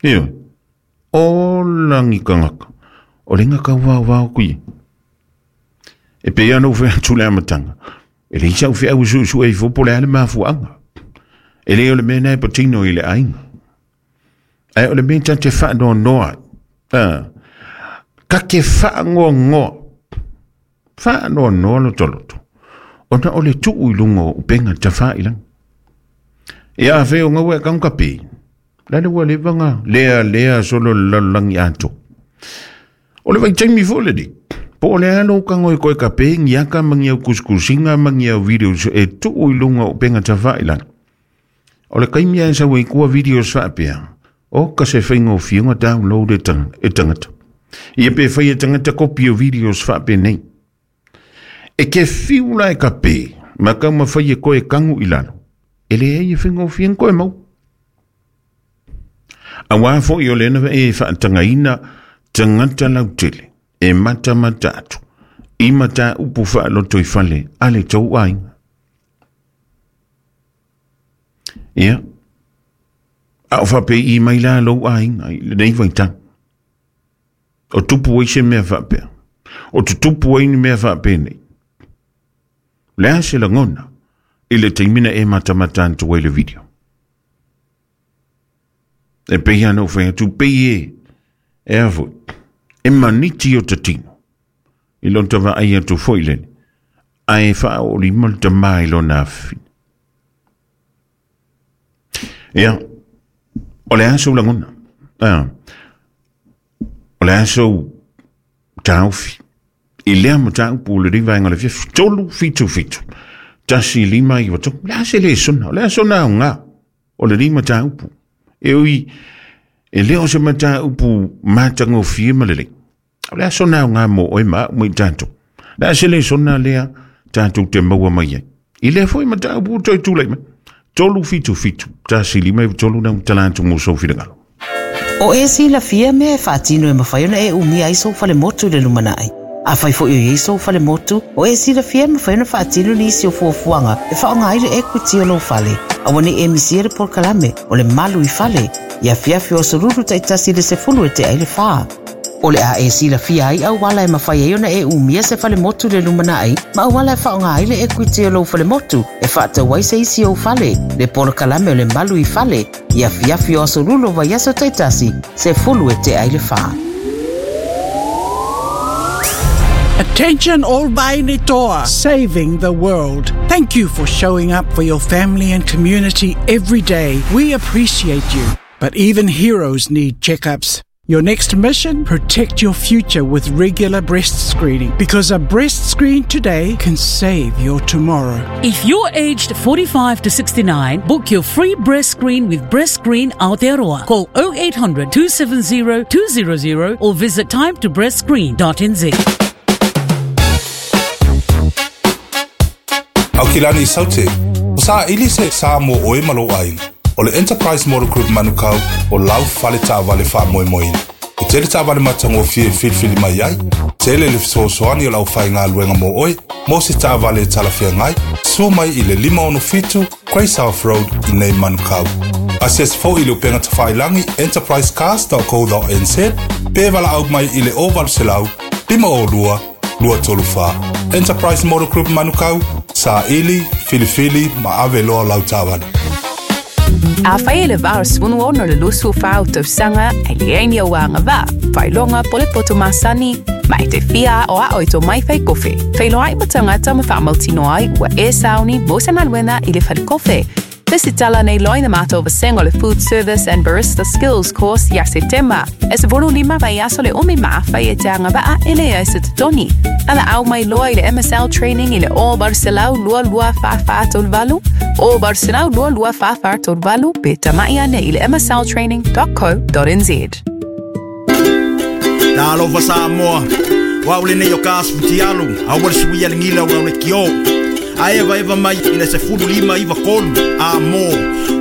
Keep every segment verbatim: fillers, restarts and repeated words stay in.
Io, o langi kangaka, o lenga kau wau wau kui. E pe ia no whea tule amatanga. E le isa uwhea usu usu e fopo le ale mafuanga. E le o le mea nei patino i le ainga. Ai o le mea tate whaanoa noa. Ah. Ka ke whaangoa ngoa. Whaanoa noa loto loto. Ona o le tuu i lunga o upenga ta whailanga. E a wheo ngawe kaunga pe. Lale ua le vanga lea lea solo lalangi ato. O le vaitaimi fo le di. Po o le alo kango e koe kape ngiaka mangi au kuskusinga mangi au videos e tuu i lunga o penga ta whailanga. O le kaimia e sawe kua videos whaapea. O ka se whainga o whiunga download e, tang, e tangata. Ia pe whai e tangata kopi o videos whaapea nei. E ke whiula e kape, ma kau ma whai e koe kangu i lalo. E le e whainga o whiunga koe mau. A wā fo i o lena e whaatangaina tangata lautele. E mata mata atu. I mata upu whaaloto i whale ale tau ainga. Ia. A o whape i mai la lou ainga i le nei vaitang. O tupu ai se mea whapea. O tutupu ai ni mea whapea nei. Lea se langona i le teimina e mata mata antu ai le video. E pehi anau whai atu pei e. E awoi. E maniti o tatino. I lonta wa ai atu foi lene. Ae wha o lima le tama i lona awhi. Ia. O le aso langona. Ah. O le aso taufi. I lea mataupu le riva inga le fiafi. Tolu fitu fitu. Tasi lima i wato. Le ase le sona. O le aso na o ngā. O le rima taupu. E ui. E leo se mataupu matango fie malele. O le aso na o ngā mo oe maa mui tātou. Le ase le sona lea tātou te maua mai ai. I lea foi mataupu toi tūlei mai. Tolu fitu fitu. Tasi lima i tolu na utalantu mo sofirangalo. O e si la fia mea e whaatino e mawhai ona e umia ai sou whale motu le lumanai. A whai fo i sou whale motu, o e si la fia mawhai ona whaatino ni isi o fuafuanga e whaonga aile e kuti o lo whale. A wane e misia le porkalame o le malu i whale. Ia fiafi o soruru taitasi le sefulu e te aile whaa. O le a e si la fia ai au wala e mawhai ai ona e umia se whale motu le lumanai, ma au wala e whaonga aile e kuti o lo whale motu e whaatau ai se isi o whale. Le porkalame o le malu i whale. Ia fiafi o asorulo vai aso taitasi se fulu e te aile whaa. Attention all Vainitoa, saving the world. Thank you for showing up for your family and community every day. We appreciate you. But even heroes need checkups. Your next mission? Protect your future with regular breast screening, because a breast screen today can save your tomorrow. If you're aged forty-five to sixty-nine, book your free breast screen with Breast Screen Aotearoa. Call oh eight hundred, two seven zero, two zero zero or visit time to breast screen dot n z. Aukilani Saute, o sa ili se sa mo oe malo aina. O le Enterprise Motor Group Manukau o lau fale taavale faamoemoeina. E tele taavale matagofie e filifili mai ai, tele le fesoasoani o lau faigaluega mo oe, mo se taavale e talafeagai, sua mai i le lima ono fitu, Grey South Road i nei Manukau. Asiasi foi i le upega tafailangi enterprise cars dot co dot n z, pe valaau mai i le o valu selau, lima o lua, lua tolu fa. Enterprise Motor Group Manukau, sa ili, filifili, ma ave loa lau taavale. A whai le vāra swunu ono le lusu whau tausanga e le o anga vā, whailonga po le poto masani, ma e te fia o a oito mai whai kofe. Whailoa i matangata ma whaamautino ai ua e sauni mo se maluena i le whale kofe. Visitala nei loi na mātou vasenga le Food Service and Barista Skills Course ia Setema. E se volu lima vai aso le umi maawhai e te anga vaa e le ai se toni. Ala au mai loa i le M S L training i le o Barcelau lua lua wha wha tolu valu, o Barcelau lua lua wha wha tolu valu pe tamai ane i le m s l training dot co dot n z. Nā lova Samoa, waule nei o ka asfutialu, a wale suia le ngila o le kio. A eva eva mai i le se fulu lima iwa kolu, a mo,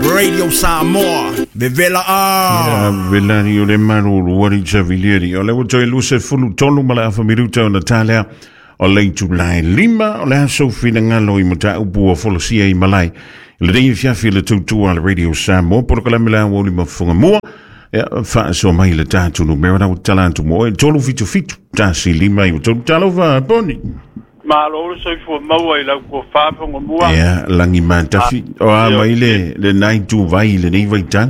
Radio Samoa, vevela a. Ia, vela ni o le maruru, wari chavilieri. O le wato e luse fulu tolu mala afa miruta o Natalia, o leitu lai lima, o le aso finangalo i mata upu o folosia i malai. Le rei fiafi le tutua le Radio Samoa, poro kalamila o lima funga mua. Ia faasoa mai le tatou numera na ua tala atu mo oe tolu fitu fitu tasi lima iva tolu. Talofa Poni. Malo le soifua maua i lau tofa Fogamua. Ia lagi matafi o a mai le lenā ituvai i lenei vaitau.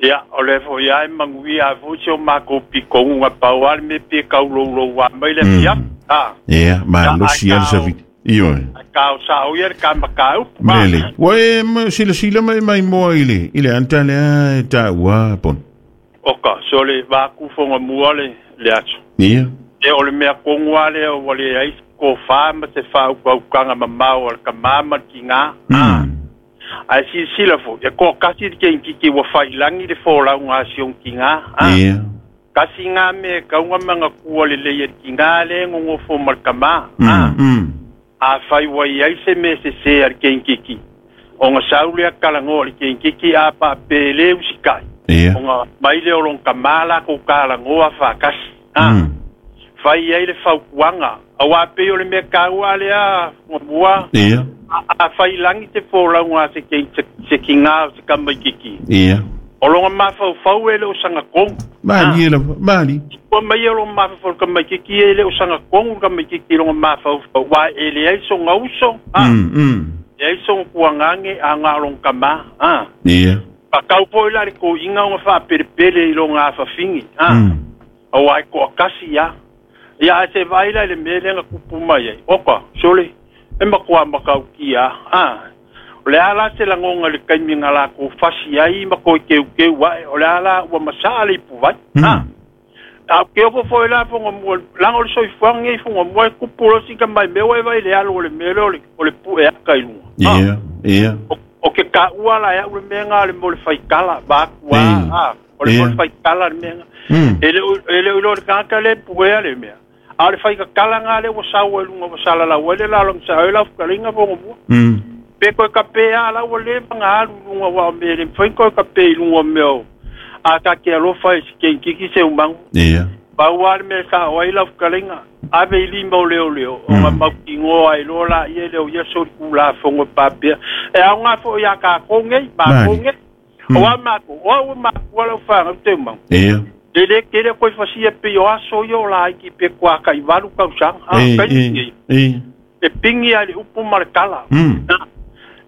Ia, o le fo'i ai manuia ai foi si o makou pikoguga pau a le mea pe kauloulou a mai le afiafi. A. Ia, malosi a le savili. Ioe. Ae kao sa'o ia le kamakaupu. Lelei. Ua e silasila ma e maimoa i le i le ata lea e taua Poni. Oka, so le vaku Fogamua le le aso. Ia. E o le mea kogu a lea ua leai se tofā ma se faaukaukaga mamao a le kamā ma le tigā. Mm. Ae silasila fo'i, e to'atasi le keikiki ua fa'ilagi le folauga a si ona tigā. A. Ia. Kasi gā mea e kauga magatua lelei e le tigā lea e gogofo ma le kamā. A. Mm. Mm. Afai ua iai se mea sesē a le keikiki, ona sau lea kalagoa i le keikiki a paapē lē usika'i, Ia. ona mai lea o lona kamā lakou kalagoa fa'atasi. A. Mm. Fai ai le fautuaga, auā pei o le mea kaua lea Fogamua. Ia. A fa'ilagi te folauga a se kei se tigā o se kamaikiki. Ia. O loga mafaufau e le o sagatonu. Malie lava, malie. Ua mai e loga mafaufau le kamaikiki e le o sagatonu le kamaikiki i loga mafaufau, uā e leai soga uso. A. Mm. Mm. Leai soga tuagage aga o loga kamā. A. Ia. Pakau foi la le koʻiga ona faapelepele i loga afafigi. A. Mm. Auā e toʻatasi ia. Ia ae se vaai la i le mea lea na tupu mai ai. Oka, sole, e makuā makaukia. A. O le a la se lagoga i le kaimi na lakou fasi ai ma koe keukeu aʻe, o le a la ua masaʻa le ipuvai. A. Mm. A o ke ofo fo'i la Fogamua, laga o le soifuaga nei Fogamua e kupu loa sika mai mea ua e vaai i le alu o le mea lea o le o le puʻe aka i luga. A. Ia. Ia. O o ke kaʻua la e aʻu le mea gā o le mo le faikala vaakua. Ei. A. O le mo le Ia. faikala le mea gā. Mm. E le o e le o iloa le tagata lea e puea le mea. A o le faikakala gā lea ua sau ai luga ua salalau ai le lalogisa ai lau fetalaiga Fogamua. Mm. Pe koe kapē a la ua leva ga alu i luga uā o mea e le mafai koe kapē i luga o mea o a ka ke alofa i se keikiki se umagu. Ia. Pau a le mea sa'o ai lau fetalaiga, ave i lima o leoleo, ona Mm. mautigoa ai loa laia e leo ia solikulāfogo papea. E aogā fo'i iā kākou nei, makou Malie. nei. O Mm. a makou, o au e makua lau fagau te umagu. Ia. E lē tele koe fasia pei o aso ia o laiki pe kuākaʻivalu tausaga. A, Ei, kaimi ei, nei. ei. E pigi a i le upu ma le kala. Mm. A,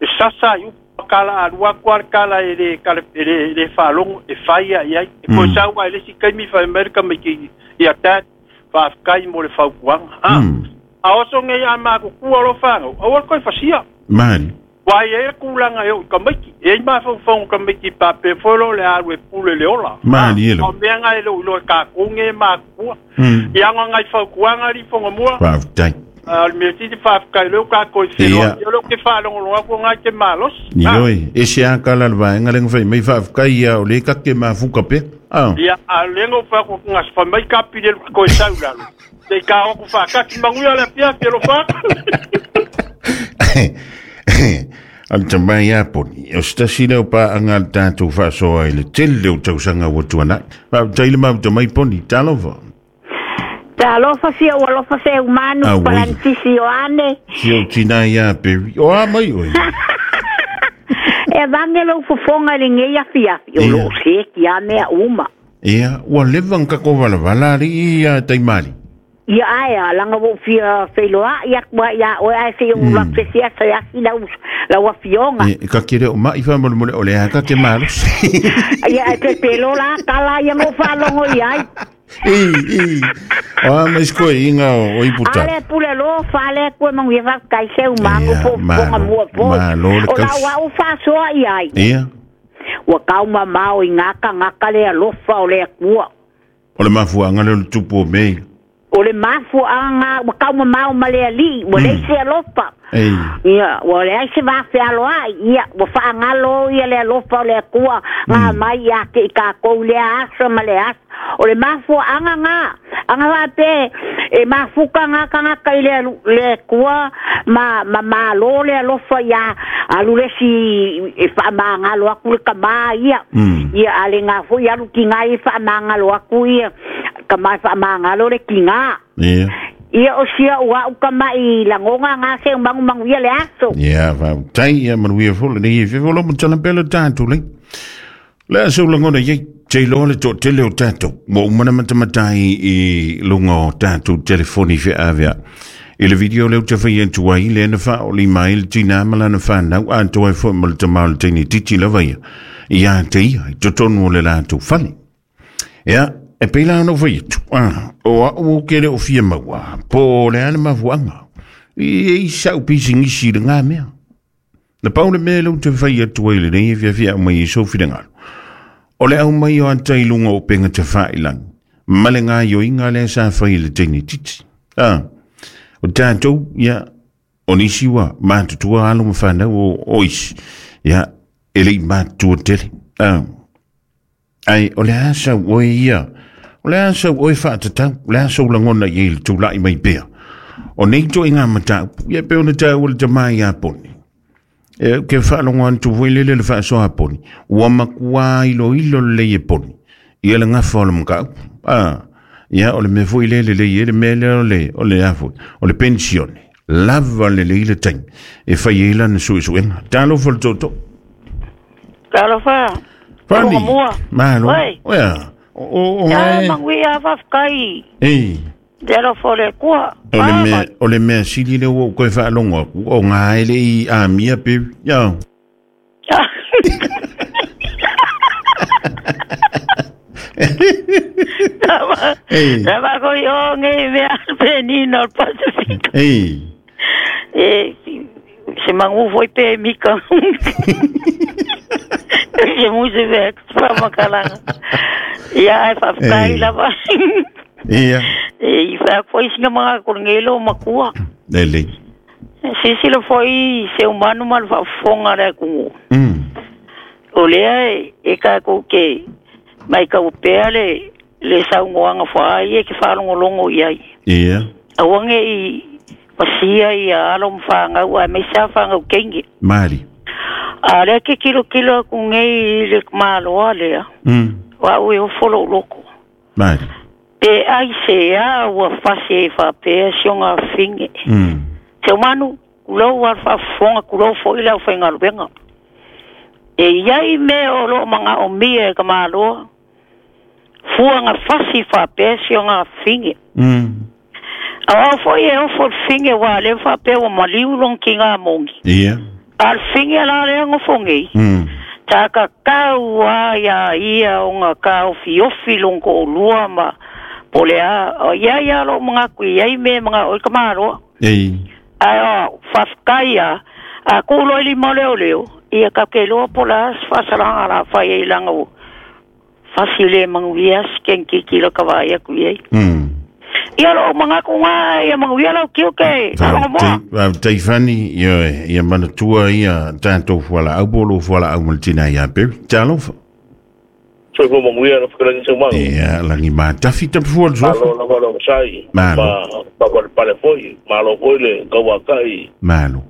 e sasa i upu ma kala alua atu a le kala e lē kala e lē e lē faalogo e fai aʻi ai. E koe Mm. sau ai le isi kaimi fai mai le kamaiki ia dad faafekai mo le fautuaga. A. Mm. A oso nei a makukua lo fagau, aua le koe fasia. Malie. Uā i ai le kulaga e oo i kamaiki. E ai mafaufauga kamaiki papea foi lo le alu e pule le ola. A. Malie O lava. mea ga e lou iloa e kākou ge e makukua. Mm. Ia agagai fautuaga ali Fogamua. Faafetai. A o le mea sili faafekai lea ua kākou i Ia. feloai. Ia lea ou te faalogologo atu agai te malosi. A. Ioe, ese a kala le vaega le ngawhai mai faafetai ia o le kake mafuka pea. Ah. Ia, a o lea na ou fai atu gasa fai mai kapi le koe sau i lalo. Sei kā o atu faakasi manuia le afiafi e lofa atu. O le tamai a Poni, o se tasi lea o paʻaga le tatou faasoa i le tele o tausaga ua tuanaʻi. Faafetai le mafuta mai Poni, talofa. Talofa fia ua alofa se umanu Auē. palantisi Ioane. Si o tina ia Peri. O a mai oe. E vange lou fofoga i lenei afiafi o Ia. loo seki a mea uma. Ia, ua leva ngako valavala ali ia taimali. Ia ae a langa ua ou fia feiloaʻi atu ai iā oe ae sei ou atu se siasa e asi lau lau afioga. E, ka kere o mai whamolemole o le haka ke malosi. Ia e pepelo la kala ia ngo faalogo i ai. I, i. O a mais koe inga o, o iputa. Ale pule lo fale koe manguia faafetai se umagu Ia, fofoga malo, mua foi. malo le O kausi. lau au faasoa i ai. Ia, Ua kaumamao i gakagaka le alofa o le Atua. o le mafuanga le o le tupu o mei. O le mafuaaga ua kaumamao ma le alii, ua leai se alofa. Ei, Ia, ua leai se vafealoai, ia, ua faagalo ia le alofa o le Atua, ngā mai ia te i kākou lea asa ma le asa. O le mafuaaga ngā, aga faapea e mafuka gakagaka i le alu- le Atua ma, ma malo le alofa ia alu le isi e faamagalo atu le kamā ia. Mm. Ia, a le ngā foi alu tigā e faamagalo atu ia, kamā e faamagalo le tigā. ia. Ia o sia ua au kamaʻi lagoga gā se magumagu ia le aso. Ia, faafetai ia manuia foi lenei e fefo lo matala pea le tatou lei. Le a seu lagona iai. Te iloa le toatele o tatou ua uma na matamatai i luga o tatou telefoni feaveai. I le video lea ou te fai atu ai lea na faaolima ai le tinā ma lana fanau atoa ai foi ma le tama o le teine titi lava ia ia te ia i totonu o le latou fale. Ia, e pei la ona ou fai atu, ah, o au ou ke le o fia maua, po o le a le mafuaaga, i i sa'u pisigisi i lagā mea. Na pau le mea lea ou te fai atu ai lenei e fiafia mai i sou finagalo. O le au mai o ata i luga o upega tafailagi ma le gaioiga lea sa fai i le teine titi. Ah, o tatou, ia, o nisi ua matutua alo ma fanau o, o isi, ia, e le'i matutua tele. Ah, ai, o le a sau oe ia, o le a sau oe faatatau, o le a sou lagona i ai le tula'i mai pea. O nei toaiga mataupu, ia pe ona taua le tamā iā poni. E ke faalogo atu foi lele le faasoa poni, ua makuā iloilo lelei e poni ia le gafa o le mataupu. Ah, ia o le mea foi lele lelei ai le mea lea o le o le a foi, o le pensione. Lava lelei le taimi e fai ai lana suesuega. Talofa le tootoo. Talofa. Fani. Mua. Malo. Oi. Oia. O o o Ya e. manguia fafkai. Ei. Te alofa o le Atua. O le mea, o le mea sili lea ua ou toe faalogo atu, o gā e le'i amia pe. Ia. Ei. Lava ko i o nge mea penina o le Pasifika. Ei. E, se mangu foi pe mika. Se musi ve whamakalanga. Ia, e fafkai Ei. lava. Ia. E, i wha foi singa mga korongelo makua. Lelei. Sisila foi se umanu ma le faafofoga le atunuu. Mm. O lea e, e tatou te mai pea le le saunoaga faai e ke faalogologo i ai. Ia. Aua nei pasia ia alo ma fanau aemaise a fanau keigi. Mari. A lea ke kilokilo aku nei i le maloa lea. Mm. O au e ofo lou loko. Mari. Pe ai se a ua fasi e faapea si oga afine. Mm. Se umanu, kulou a le faafofoga, kulou fo'i le aufaigaluega. E iai mea o loo magaomia e ka maloa. Fuaga fasi faapea si oga afine. Mm. Au au fo'i e ofo le fine ua lea faapea ua maliu lona kiga mogi. Ia. A le fine la lea gofogei. Mm. Takakau a ia ia o ngā kaofiofi lona to'olua ma po le a o ia ia loo magaku i ai mea maga o i ka maloa. Ei. Ae o faafetai a a kulo i lima o leoleo ia kakeiloa po o le a se faasalaga la fai ai laga ua fasi le manuia se kenikiki lo ka vaai atu i ai. Mm. Ia loo magaku gā ia manuia lau tiute faalogomoa. Faafetai Fani, ia ia manatua ia tatou fualaau po o lou fualaau ma le tinā iā Perry. Talofa. Soifua manuia na whakalagi sau mangu. Ia, lagi matafi tapafua le suafa. Malo lava lo masai. Malo. Ma ma pale foi, malo foi le kauakai. Malo.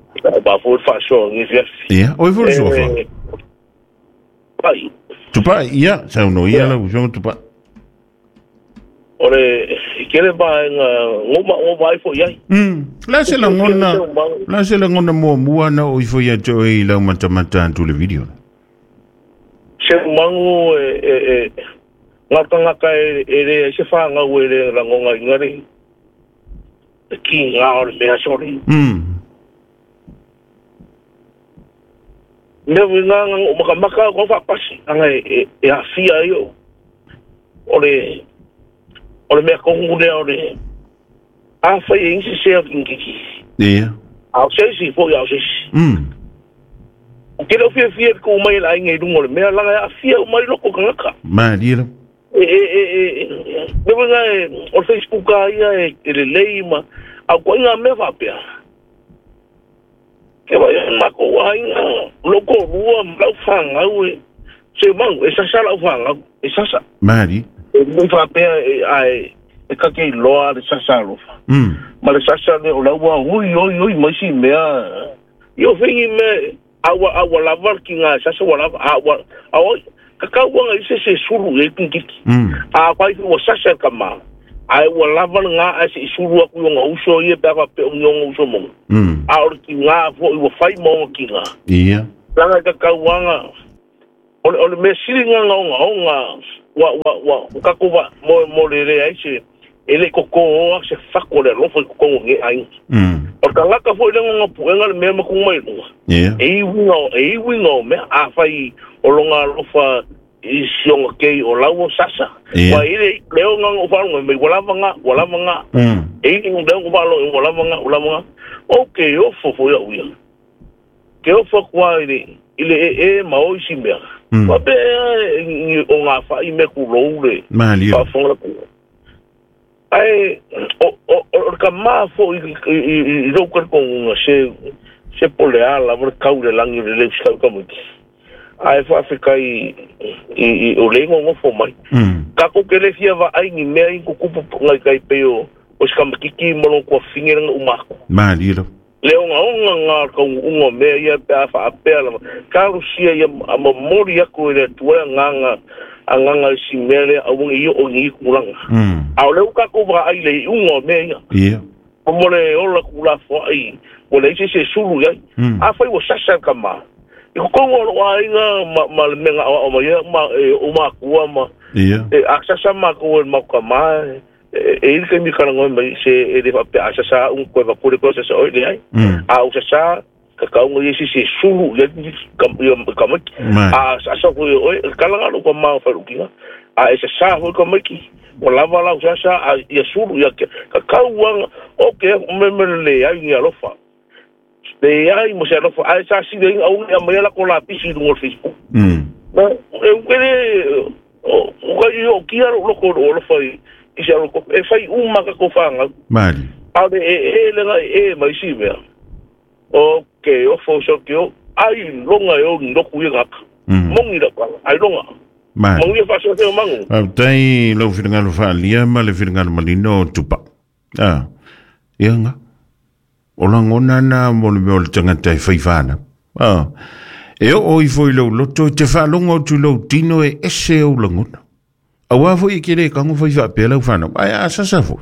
Ba foi faasoa ngi fiafi. Ia, oi foi le suafa. Pai. Tupai, ia, saunoa ia lau afioga Tupai. O le kele vaega ngoma o vai foi ai. Mm. La se lagona, la se lagona muamua na o ifo ia te oe i lau matamata atu le video. Se mangu e e e ngaka ngaka e e le se whangau e le rangonga ingari. E ki ngā o le mea sori. Mm. Mea wi ngā ngā o maka maka o whapasi. Anga e e e awhia i o. O le o le mea kongu lea o le a whai e insi sea kinkiki. Ia. Au seisi foi au seisi. Mm. O ke leo fia fia ko mai la inga i runga o le mea langa e awhia o mai loko kangaka. Maria la. E e e e e mea nga e o Facebook a ia e e le lei ma au kua inga mea whapea. Ke vai e mako wa inga loko rua ma lau whangau e se mangu e sasa lau whangau e sasa. Maria. E mea whapea e ai e kake i loa le sasa alofa. Mm. Ma le sasa le o lau hui oi oi mai si mea. I o whengi mea awa awa lava ki ngā sasa wa lava awa awa kakauanga i se se sulu e kinkiki. Mm. A kwai ua sasa ka ma. Ai ua lava ngā ai se sulu aku i onga uso ia pe apa pe ongi onga uso monga. Mm. A ore ki ngā fo i ua whai maonga ki ngā. Ia. Langa kakauanga ole ole mea sili ngā onga onga Ua ua ua o kako wa mo mo le le ai se e le koko o se fako le alofa i kokongo nge ai. Mm. O ka laka foi le ngonga puenga le mea makunga mai lunga. Yeah. E iwinga o, e iwinga o mea a whai o longa alofa i sionga kei o lau o sasa. Yeah. Wa ile leo nganga o whalunga mai walava nga, walava nga. Mm. E i leo nganga o walava nga, walava nga. O ke ofo fo ia uia. Ke ofo kua ile, ile e e ma o isi mea. Mm. Wa pe e o ngā whai me ku lou le. Malia. Whafonga ku. Ai, o, o, o, ka maa fo i, i, i, i rau karikongunga se, se pole ala, mo le kau le langi le leu sikau kamuki. Ai whaafika i, i, i, o le ingo ngofo mai. Mm. Kako ke le fia wa ai ni mea i kukupu ngai kai pe o, o sikamakiki molong kua fingeranga umako. Malia. Le onga onga ngā kau unga mea ia pe a whaapea lava. Karusia ia a mamori ako i le tuea nganga a nganga i si mea lea a wongi i o ngi kulanga. Mm. A o leu kako wha ai le i unga o mea ia. Yeah. O mo le ola kula fwa ai. O le isi se sulu iai. Mm. A whai o sasa ka maa. I kukongo o a inga ma, ma le menga o ma ia ma e, o makua ma. Yeah. E, a sasa ma ko e mauka maa. E, e ili kai mikara ngoi mai se e le whape a sasa un koe wakure koe sasa oi le ai. Mm. A o sasa ka kaunga i isi se sulu ia ka, ia, ka maiki. Mai. A sasa koe oi kalanga lo ka maa wharukinga. A e sasa hoi ka maiki. O lava lau sasa a ia sulu ia ke, ka kauanga o ke me me le ai ni alofa. Le ai mo se alofa a sa si le au ia mai la ko la pisi no Facebook. Mm. Na e ukele o o ka i o kia lo ko o alofa i i se alofa e fai uma ka ko whanga. Mali. A le e e le ngai e mai si mea. O ke o fo so ke o ai longa e o ndoku i ngaka. Mm. Mongi la kwa ai longa. Mali. Mongi fa so te o mangu. Au tai lau whiringalo whaalia ma le whiringalo malino o tupa. Ah. Ia nga. O langona na mo le mea o le tangata e whaiwhana. Ah. E o o ifo i lau loto e te whaalonga o tu lau tino e ese o langona. Awa fo i kere kango whai whaapea lau whanau. Ai a sasa fo.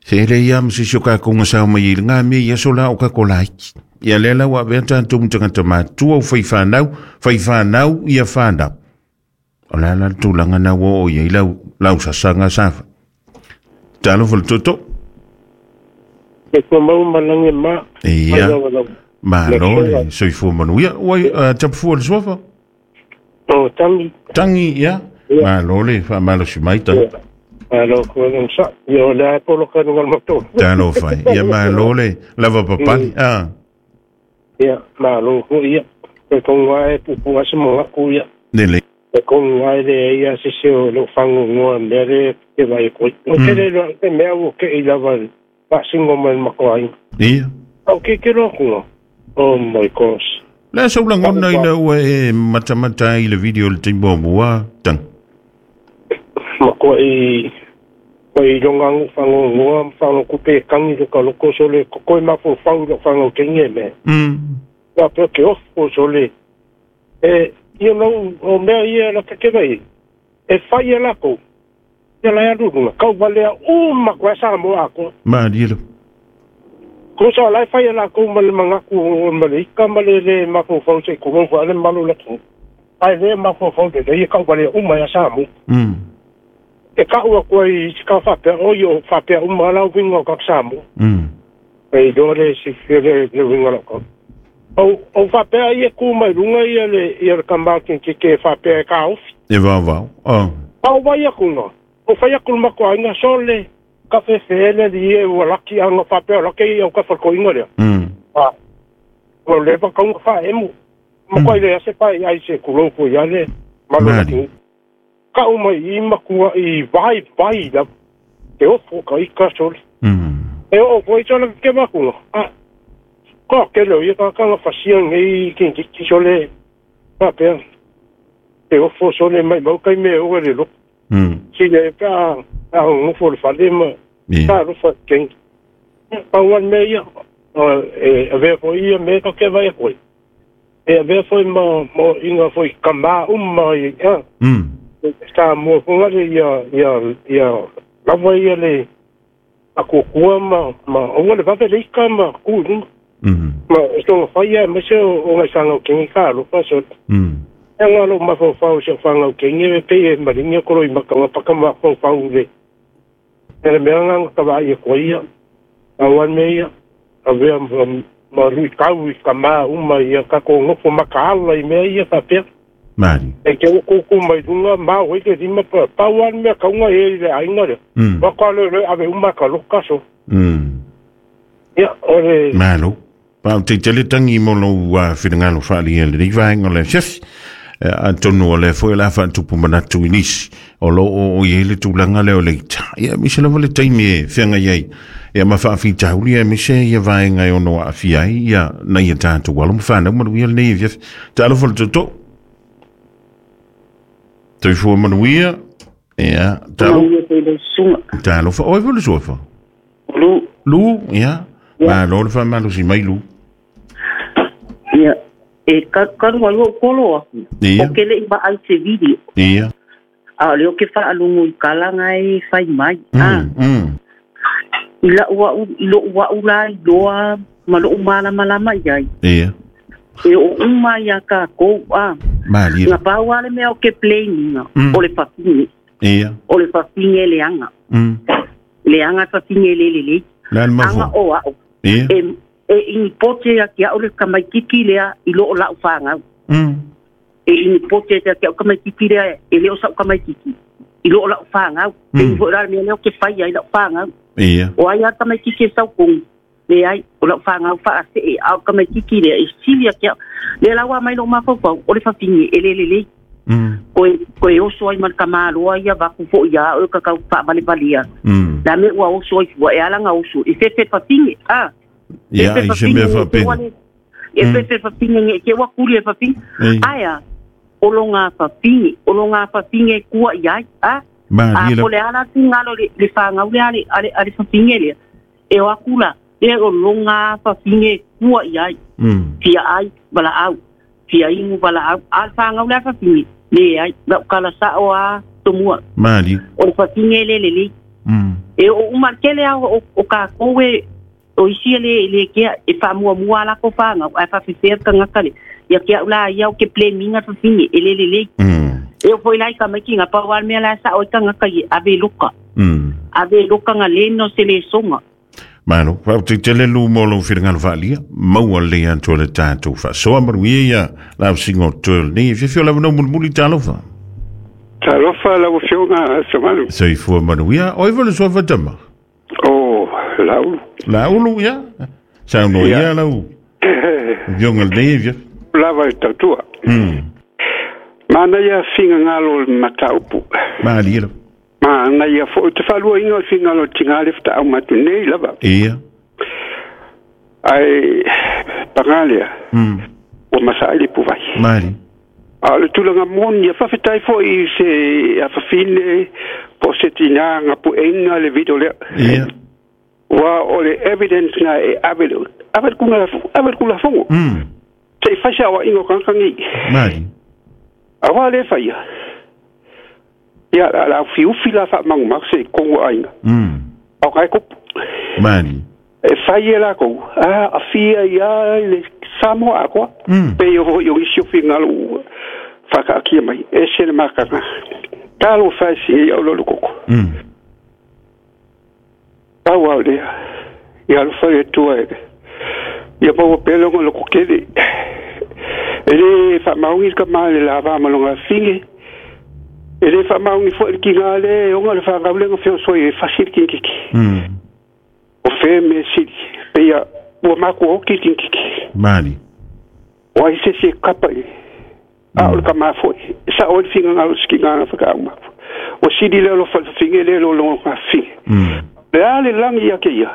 Se ele ia msisi o kakonga sao mai i ngā me ia sola o kako laiki. Ia lela wa vea tātou mtangata mātua o whai whanau, whai whanau ia whanau. O la la tūlanga na o ia i lau, lau sasanga safa. Talo fo le toto. Ke kua mau malange ma. Ia. Malo le soifua manuia. Ua uh, tapufua le suafa? O, tangi. Tangi, ia. Malo le whaamalo si mai tangi. Malo kua ngam sa. Ia o le polo kanu ngal mato. Talo whai. Ia malo le lava papali. Ah. Ia, malo ko ia. Ke konga e pupu ase mo aku ia. Nele. E konga e le ia se se o lo fango ngoa mere ke vai koi. O te le lo te mea o ke i lava pa singo mai makoai. Ia. O ke ke lo kunga. Oh my gosh. Le sau langona ina ua e matamata i le video le timbo mua tang. Makoa i ko i longa ngu fango ngoa fango kupe kangi lo ka loko sole ko i mafo fau lo fango kenge me. Mm. La pe ke ofo sole. E you know o mea ia la ke vai. E fai la ko. Ia la alu nga kau vale o makoa sa mo ako. Ma dilo. Ko sa la fai la ko ma le mangaku o ma le ika ma le le mafo fau se ko mo ale malu la ko. Ai le mafo fau de ia kau vale o ma sa mo. Mm. E ka ua koe i ka whapea o i o whapea uma lau winga o kaksamu. Mm. E dore si whire le winga loko. O, o whapea i e kū mai runga i le, i le kamautin ki ke whapea e ka ofi. E vau vau. Oh. Pau vai aku ngā. O whai aku mako ainga sole. Ka whewhele li e ua laki anga whapea laki i au ka whako inga lea. Mm. Ah. O lewa kaunga wha emu. Mako mm. I le ase pai ai se kuloko i ale. Malo laki. Ka uma i makua i vai vai la te ofo ka ika sole. Mm. E o foi sole ke makua. Ah. Ko ke lo i ka ka fasia ngai ki ki sole. Pa pe. Te ofo sole mai mau kai me o le lo. Mm. Si le ka a ngo fo le fale ma. Ka ro fa ken. Pa wan me ia e a ve fo ia me ka ke vai ko. E a ve fo mo mo inga fo ka ma uma i. Mm. Sa mo fonga le ia ia ia lava ia le a kukua ma ma o le vave le ika ma ku Mm. ma sto fa ia me se o ngai sanga o kengi ka lo fa so. Mm. Nga lo mafaufau se whangau ke nge me pe e maringa koro i makanga paka mafaufau le. Ele mea nganga ka vai e koe ia. A wan me ia. A wea ma rui kau i ka maa uma ia ka ko ngofo makaala i mea ia whapea. Mari. E ke o koukou mai lunga ma o ke rima pa pa wan mea kaunga e le ainga le. Mm. Waka le le ave uma ka loka so. Mm. Ia ore. Malo. Pa te tele tangi mo lo uh, whingalo whaali e le rivaenga le chef. Atonu o le foi la whaatupu manatu i nisi. O lo o o i le tūlanga le o le ita. Ia mise lava le taimi e whianga iai. Ia ma whaawhita huli e mise ia vaenga e ono a awhia ai. Ia nei e tātou walo mwhanau manuia le nei e whiawhi. Tā alofa le toto. Toifua manuia. Ia. Tā alofa. Oi fo le suafa. Lu. Lu, ia. Ma lo le whamalo si mai lu. Ia. E karu ai o kolo aku. Ia. O ke le iwa ai te video. Ia. A le o ke whaalungu i kalanga e whai mai. Mm, ah. mm. I la ua u, i lo ua ula i loa, ma lo umala malama i ai. Ia. E o uma ia ka kou, ah. Mali. Nga pau ale mea o ke play ninga. Mm. O le whawhinge. Ia. O le whawhinge le anga. Mm. Le anga whawhinge le le le. Le anga Anga o ao. Ia. E, e ini pote ia ki au le kamaitiki lea i loo lau whangau. Mm. E ini pote ia ki au kamaitiki lea e leo sau kamaitiki i loo lau whangau. Mm. E iho rā mea leo ke whai ai lau whangau. Ia. O ai a kamaitiki e sau kongu. Le ai o lau whangau whaase e au kamaitiki lea e sili ia ki au. Le lawa mai lo mawhauwhau o le whawhingi e lele le. Mm. Koe, koe oso ai man kamaloa ia waku fo ia o kakau whaavalevalia. Mm. La me ua oso ai fua e alanga oso. E fefe whawhingi. Ah. Ia, i se mea whapena. E fefe whawhingi nge, ke wakuri e whawhingi. Aia, o longa whawhingi, o longa whawhingi e kua i ai, a? Ma, A, po le ala tūngalo le, le whangau le ale, ale, ale whawhingi lea. E o akula, e o longa whawhingi e kua i ai. Mm. Fia ai, wala au. Fia ingu, wala au. A le whangau le whawhingi, le ai, lau kala sao a tomua. Mali. O le whawhingi le le le. Mm. E o umarkele au o, o ka koe, o isi le le kea e whaamua mua la ko whangau, ai whawhiwhea kangaka le. Ia kia ula ia o ke pleminga whawhingi, e le le le. Mm. E o foi lai ka maiki ngā pawal mea la sa o i kangaka i ave loka. Mm. Ave loka ngā leno se le songa. Malo, wau te tele lu molo whiringalo whaalia, maua le antua le tātou whasoa maruia ia lau singo tuel ni, whiwhio lau nau mulmuli tālofa. Tālofa lau whionga somalu. Soifua maruia, oi vole sua whatama. Oh, laulu. Laulu, ia. Sauno ia lau. Vionga le via. Lava i tautua. Mm. Mana ia finga ngalo mataupu. Maali lau. Mana ia fo te whalua inga o finga lo tingale fta au matu nei lava. Ia. Ai pangalia. Mm. O masaili puvai. Maali. A le tulaga moni ia whawhetai fo i se a whawhine po se tina ngā pu enga le video lea. Ia. Wa o le evidence na e ave ave kunga ave kula fongo. Mm. Te fasia wa ingo kankangi. Mali. Awa le faia. Ia la la fiu fila fa mangu ma se kongo ainga. Mm. O kai ko. Mali. E faia la ko. Ah a fia ia le samo akwa. Mm. Pe yo yo isio fingalu fa ka mai e se le makanga. Talo fasia o lo koko. Mm. Awa le ia lo fa tua e ia pa pelo ngo lo kokele e le fa maungi ka ma le lava ma longa finge e le fa maungi fo ki ngale o le fa ngale ngo fio so e facile ki ki mm o fe me si pe ia o ma ko ki ki ki mali o ai se se kapa e a o ka ma fo sa o finga ngalo ski ngala fa ka ma o si di le lo fa finge le lo lo ka finge mm Le ale langi ia ke ia.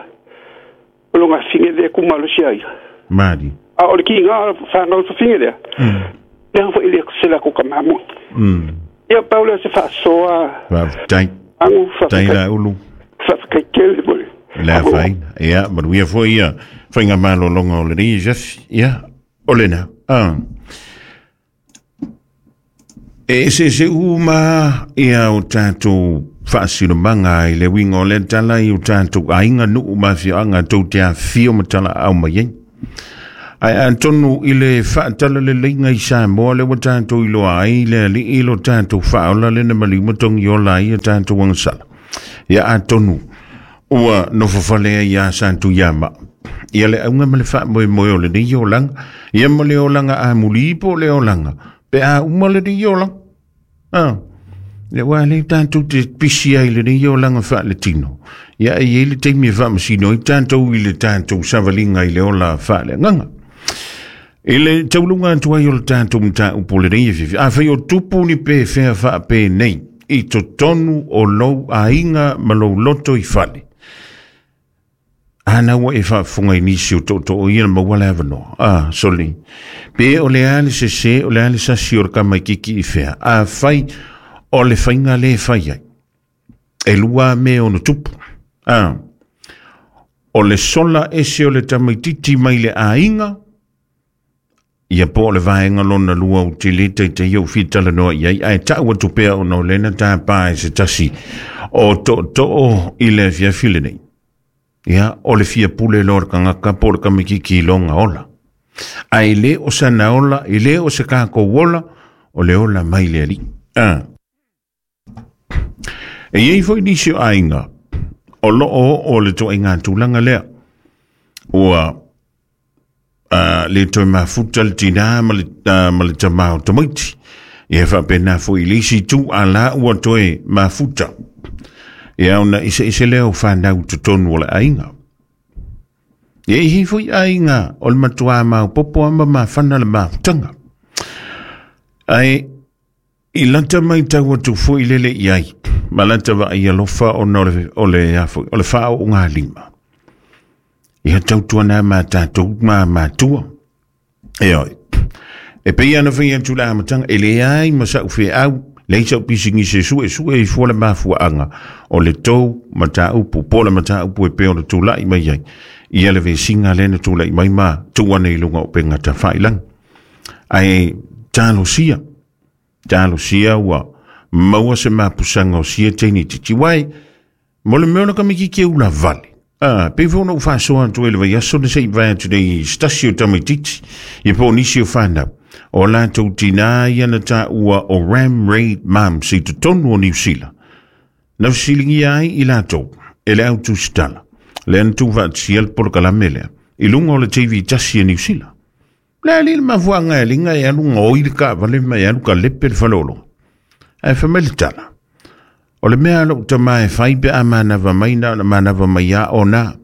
O longa finge le kumalo sia ia. Mali. A o le ki ngā whangau fa finge lea. Mm. Lea fo ile se la ko ka mamu. Mm. Ia Paula se whasoa. Wa tai. Angu fa. Tai la ulu. Fa kai kele bole. La fai. Ia manuia fo ia. Whainga malo longa o le ni Jeff. Ia olena. Ah. E se se uma ia o tātou whaasiromanga i le winga o le tala i o tātou ainga nuu mawhia anga tau te a whio matala au mai ei. Ai atonu i le faatalaleiga i Samoa le ua tatou iloa ai le alii lo tatou faaola le na maliu matongi ola ai a tatou agasala. Ia atonu ua nofofale ai ia Santuiama. Ia le auga ma le faamoemoe o lenei olaga, ia ma le olaga amuli po o le olaga, pe a uma lenei olaga. Ah. Le ua le tatou te pisi ai lenei olaga faaletino. Ia e i ai le taimi e faamasino ai tatou i le tatou savaliga i le ola faaleagaga. I le tauluga atu ai o le tatou mataupu lenei afiafi, afai o tupu ni pe fea faapenei i totonu o lou aiga ma lou loto i fale. Ana ua e faafofoga i nisi o tootoo ia na maua le avanoa. Ah, soli. Pe o le a le sese, o le a le sasi o le kamaikiki i fea. Afai o le faiga le fai ai. E lua mea ono tupu. Ah, o le sola ese o le tamaititi mai le aiga, ia po o le vaega lona lua o te le taitaia o fitalanoa i ai, ae ta'u atu pea ona o lena tāpā e se tasi o tootoo i le afiafi lenei. Ia, o le fia pule loa le kagaka po o le kamaikiki i loga ola. Ae le o sana ola, e le o se kākou ola, o le ola mai le alii. Ah. E iai foi nisi o aiga, o loo o le toaiga tulaga lea. Ua uh, le toe mafuta le tinā ma le, uh, ma le tamā o tamaiti. Ia faapena foi i le isi itu a la ua toe mafuta. Ia ona eseese lea o fanau totonu o le aiga. Ia i ai foi aiga o le matuā maopoopo ama mafana le mafutaga. Ae i lata mai tau atu foi lele i ai, ma lata vaai alofa ona o le, o le, a foi, o le faaoogalima. Ia tautuana ma tatou ma matua. E oi. E pei ana fai atu le amataga, e leai ma sa'u feau, leai sa'u pisigisi e suesue i fua le mafuaaga o le tou mataupu, po o le mataupu e pei ona tula'i mai ai. Ia le vesiga lea na tula'i mai ma tuu ane i luga o upega tafailagi. Ae talosia, talosia ua maua se mapusaga o sia teine titiwai, mo le mea o le kamikiki e ula vale. Ah, pe foi ona ou faasoa atu ai le vaiaso na se'i vae atu nei se tasi o tamaititi, ia po o nisi o fanau. O latou tinā ia na tāua o Ram Raid Moms i totonu o Niu Sila. Na fesiligia ai i latou e le au tusitala, lea na tuufaatasia le polokalame lea, i luga o le T V tasi e Niu Sila. Le alii le mafuaaga e liga e alu gaoi le kaavale ma e alu kalepe le faleologa. Ae fai mai le tala, o le mea lou tamā e fai pe a manava mai na o na manava mai a ona.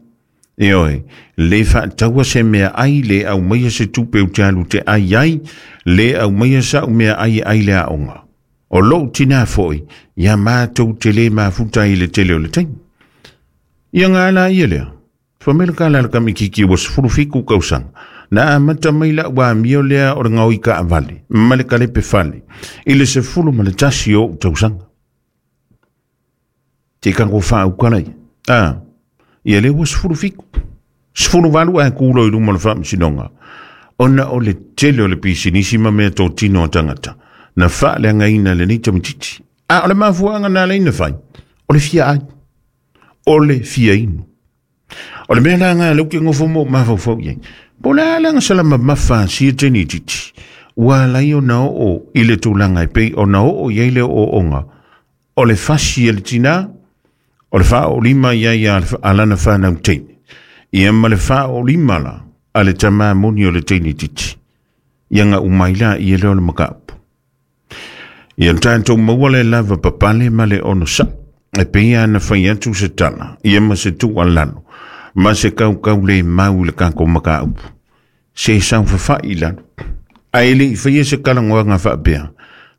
E oe, le faataua se mea ai, le aumaia se tupe ou te alu te ai ai, le aumaia sa'u mea ai e ai le aoga. O lou tinā foi, ia matou te lē mafuta i le tele o le taimi. Ia gā la ia lea. Fai mai le kala le kamikiki ua sefulu fitu kausaga. Na amata mai la'u amio lea o le gaoi kaavale, ma le kalepe fale, i le sefulu ma le tasi o ou tausaga. Te kako faaukala ia. Ah, ia le ua sefulu fitu. Sefulu valu ae kulo i luma o le faamasinoga. Ona o le tele o le pisinisi ma mea totino a tagata. Na faaleagaina lenei tamaititi. A o le mafuaaga na ala ai na fai, o le fia ai. O le fia inu. O le mea la nga lau ke ngofo mo mafaufau i ai. Po le a le agasala mamafa a sia teine titi. Ua ala ai ona oo i le tulaga e pei ona oo i ai le ooooga. O le fasi e le tinā, o le faaoolima i ai a lana fanau teine. Ia ma le faaoolima la a le tamā moni o le teine titi. Ia nga umai la ia lea o le mataupu. Ia tatou maua le lava papale ma le ono sa. E pei ana fai atu se tala, ia ma se tuualalo, ma se kaukau le mau i le kako mataupu. Se saofafai i lalo. Ae le'i faia se kalagoaga faapea,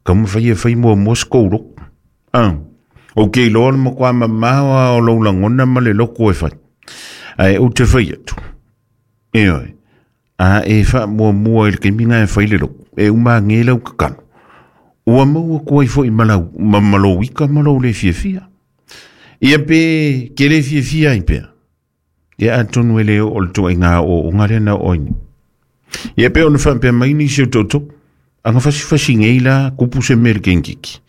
ka mafai e fai muamua se kou loko. Ah, ou ke iloa le makuā mamao a o lou lagona ma le loko e fai. Ae ou te fai atu. E oe, a e faamuamua i le taimi e fai le loko, e umāgē lau kakalo. Ua maua atu ai foi ma lau, ma, ma lou ika ma lou le fiafia. Ia pe ke le fiafia ai pea. Ia atonu e le oo le toaiga aoaoga lea na oo ai nei. Ia pe ona faapea mai nisi o toto, aga fasifasi nei la kupu se mea le kenkiki.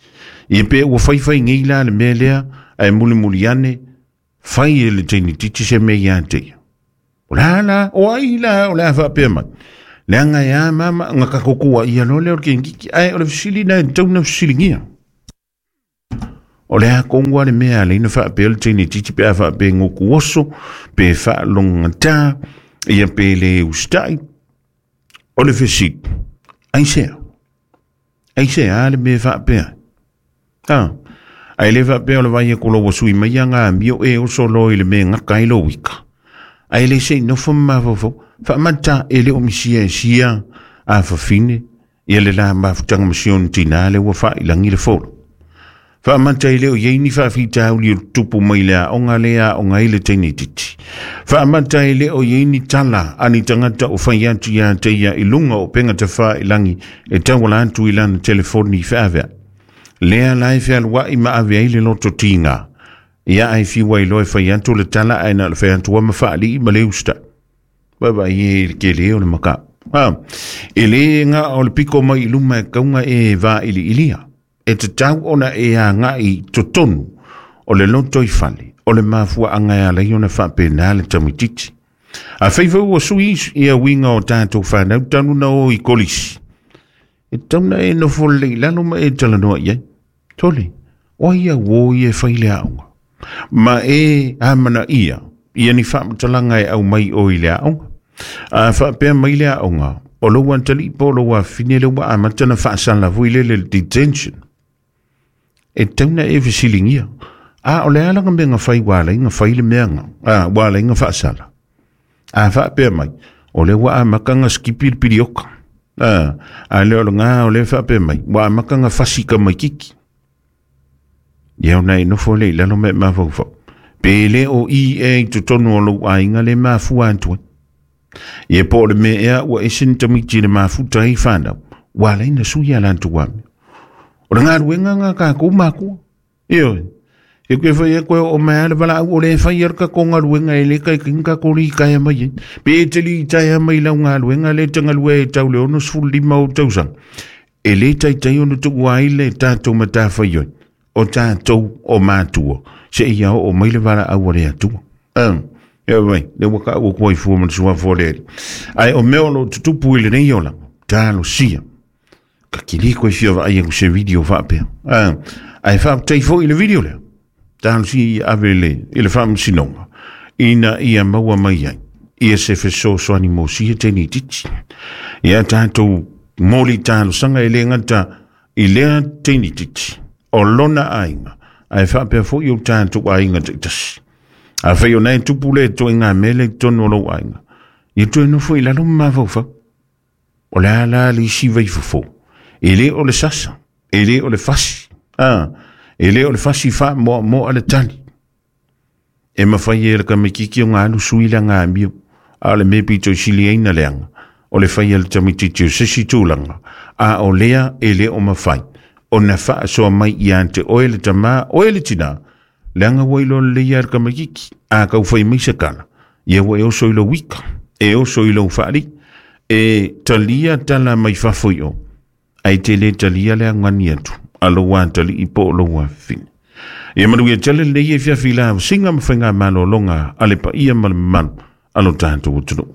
Ia pe ua faifai nei la le mea lea, ae mulimuli ane, fai e le teine titi se mea ia te ia. O la la, o ai la, o le a whaapea mai. Leanga e a mama, nga kakokua ia lo leo ke ngiki, ai o le fisili na e tauna fisilingia. O le a kongua le mea le ina whaapea le teine titi pe a whaapea ngoku oso, pe whaalonga tā, ia pe le ustai. O le fisili, ai sea. Ai sea a le mea whaapea. Ha, ai le whaapea o le vai e kolo wasui mai anga mio e oso lo i le mea ngaka i lo wika. Ai le sei nofo mawawau, whaamata e le o misia e sia a whawhine, ia le la mafutanga masion tina le ua whailangi le folo. Whaamata e le o yeini whaafita uli o tupu mai lea onga lea onga ile teine titi. Whaamata e le o yeini tala ani tangata o whai atu ia te ia ilunga o penga te whailangi e tawala atu ilana telefoni whaavea. Lea lai whealua i maavea ile loto tinga. Ia ai fiwa i loe whai atu le tala aina le whai atu ama whaali i maleusta. Baba i e ke leo le maka. Ha, e le ngā o le piko mai i luma e kaunga e vā ili ilia. E te tau ona e a ngā i totonu o le loto i fale, o le mafua anga e alai ona whapena le tamititi. A whaiwau o sui i a winga o tātou whanau tanu na o i kolisi. E tauna e nofo le ilalo ma e talanoa iai. Tole, o ia wo i e whaile aonga. Ma e amana ia, ia ni whaamatalanga e au mai o i le aonga. A whaapea mai le aonga, o lo wantali po lo wawhine le wa amatana whaasala vui le le detention. E tauna e fisilingia. A o le alanga me nga whai wala inga whai le meanga. A wala inga whaasala. A whaapea mai, o le wa amakanga skipir pirioka. A, a le o ngā o le whaapea mai, wa amakanga fasika mai kiki. Ia ona e nofo le ilalo me mawhauwhau. Pe le o i e i totonu o lou ainga le mafua antua. Ia po le mea ea ua esen tamiti le mafuta i whanau. Wa leina sui ala antua mea. O le ngā ruenga ngā kākou mākua. Io, e koe whai e koe o mea le wala au o le whai arka ko ngā ruenga e le kai kinga kori i kai mai e. Pe e te li i tai mai lau ngā ruenga le tanga lue e tau le ono sfulu lima o tausanga. E le taitai ono tukua ai le tātou matawhai oi. O tātou o mātua. Se ia o mai le wala au le atua. Um, ia vai, le waka au kua i fua mana sua fo le. Ai o mea o lo tutupu i le nei ola. Tālo sia. Ka kili koe fia wa ai aku se video whaapea. Um, ai whaaptei fo i le video lea. Tālo sia i ave le, i le whaamasinonga. Ina ia maua mai ai. Ia se wheso soani mo sia tēnei titi. Ia tātou moli tālo sanga e le ngata i lea tēnei titi. O lona ainga, ai whaapea fo i o tātou ainga tasi. A whai o nei tupu le to i ngā mele tonu o lou ainga. Ia toe nofo i lalo mawhauwhau. O le ala le isi vai fofo. E le o le sasa, e le o le fasi. Ah, e le o le fasi wha moa moa le tali. E mawhai e le kamikiki o ngā alu sui la ngā mio. A le mepi toi sili eina leanga. O le whai e le tamititi o sesi tūlanga. A o lea e le o mawhai. O na whaasoa mai i ante oe le tama, oe le tina. Leanga wai lo le ia kamakiki. A kau whai mai sakala. Ia wa e oso i lo wika. E oso i lo whaari. E talia tala mai whawhoi o. Ai te le talia le angani atu. Aloa tali i po loa whine. Ia manu ia tele le ia fia fila singa mwhainga malo longa ale pa ia malu malu alo tātou utunu.